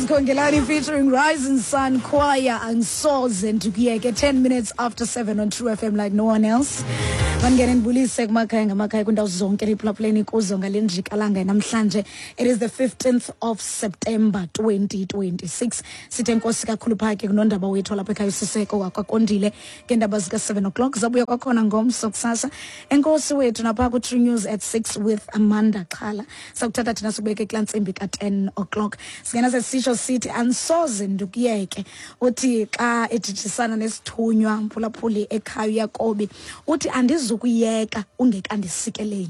Praise Kongelani featuring Rising Sun Choir and Soze ndikuyeke 10 minutes after 7 on True FM like no one else. Mandingene ndibulise kumakhaya ngamakhaya kwindawo zonke niphulaphuleni kuzo ngale njikalanga namhlanje. It is the 15th of September 2026. Sithe nkosi kakhulu phaa ke kunondaba wethu lapha ekhaya usiseko wakwakondile ngeendaba zika-7 o'clock zabuya kwakhona ngomso kusasa. Enkosi wethu napha ku-True News at 6 with Amanda Xhala. Sakuthatha thina sikubeke kulaa ntsimbi ka-10 o'clock. Singena sesisho sithi andisoze ndikuyeke. Uthi xa ejijisana nesithunywa mphulaphuli ekhaya uYakobi uthi andizukuyeka ungekandisikeleli.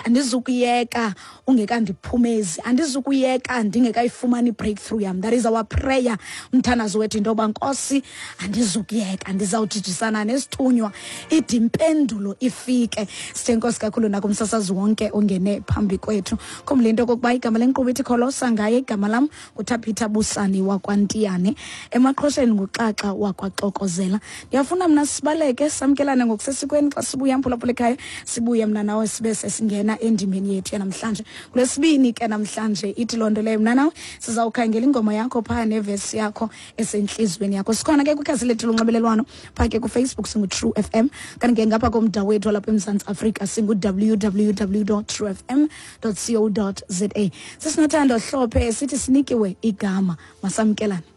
Andizukuyeka ungekandiphumezi, andizukuyeka ndingekayifumani i-breakthrough yam. That is our prayer, umthandazo wethu into yoba Nkosi andizukuyeka, ndizawujijisana nesithunywa ide impendulo ifike. Sithe nkosi kakhulu nakumsasazi wonke ongene phambi kwethu. Khumbula into okokuba igama lenkqubo ithi Kholosa ngaye, igama lam nguThabitha Busani wakwaNtiyane, emaqhosheni nguXaxa wakwaXokozela. Ndiyafuna mna sibaleke samkelane ngokusesikweni xa sibuya mphulaphula ekhaya, sibuye mna nawe sibe sesingena endimeni yethu yanamhlanje. Kulesibini ke namhlanje ithi loo nto leyo mna nawe sizawukhangela ingoma yakho phaa nevesi yakho esentliziyweni yakho. Sikhona ke kwikhasi lethu lonxibelelwano phaa ke kuFacebook singu-True FM, kanti ke ngapha komda wethu walapha eMzantsi Afrika singu-www.truefm.co.za. Sisinothando Hlophe sithi sinikiwe igama, masamkelane.